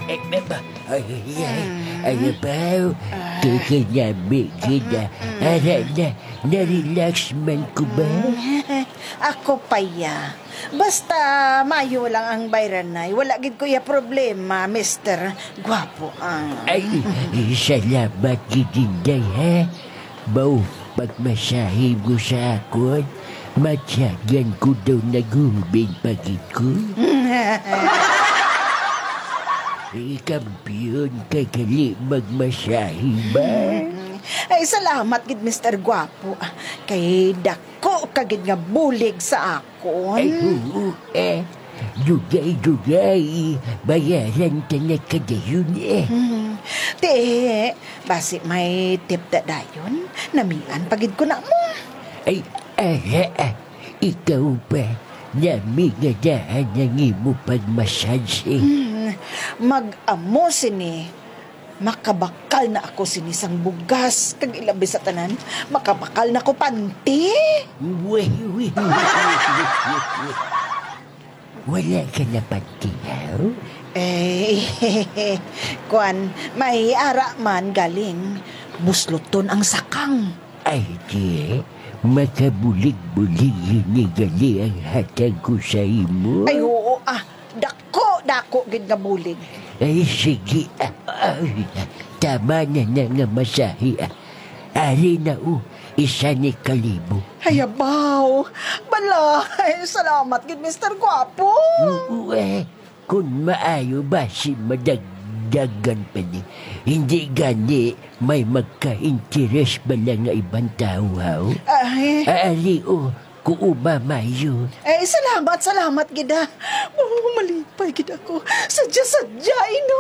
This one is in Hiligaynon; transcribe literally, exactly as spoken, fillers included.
Ay, ay, ay, ay, ay, abaw. Kay kinami gid, ah. Ara na, na-relax man ko ba? Ako pa ya. Basta mayo lang ang bayranay. Wala gid ko ya problema, Mister Guapo, ah. Ay, salamat gid, Inday, ha? Mao, pagmasahe mo sa akon, matyagan ko daw naghubin pa gid ko. Eh, kampiyon ka gali magmasahe ba? Ay, salamat gid, Mister Guapo. Kay dako ka gid nga bulig sa akon. Ay, oo, eh. Dugay-dugay, bayaran ta na ka dayon, eh. Hmm. Ti, basi may tip ta dayon? Namian pa gid ko na mo. Ay, ara, ah, ikaw pa. Nami nga daan ang imo pag-massage, eh. Hmm. Mag-amo sini. Makabakal na ako sini sang bugas, kag ilabi sa tanan, makabakal na ko panty. Uy, uy, uy, uy, uy, uy. Wala ka na panty, haw? Eh, kwan, may ara man galing. Busluton ang sakang. Ay, di, makabulig-bulig ini gali ang hatag ko sa imo. Ay, oo, ah. Dako, dako gid nga bulig. Ay, sige. Ah, ay, tama na na nga masahe, ah. Ari na, oh, isa ni kalibo. Ay, abaw. Balay, salamat gid, Mister Guapo. Oo, eh. Kung maayo, basi madagdagan pa ni. Hindi gani may magka-interes bala nga ibang tawo, haw? Ay. Ari, oh, kuuma mayo. Eh, salamat, salamat gid, ah. Oh, malipay gid ako. Sadya-sadya, ino.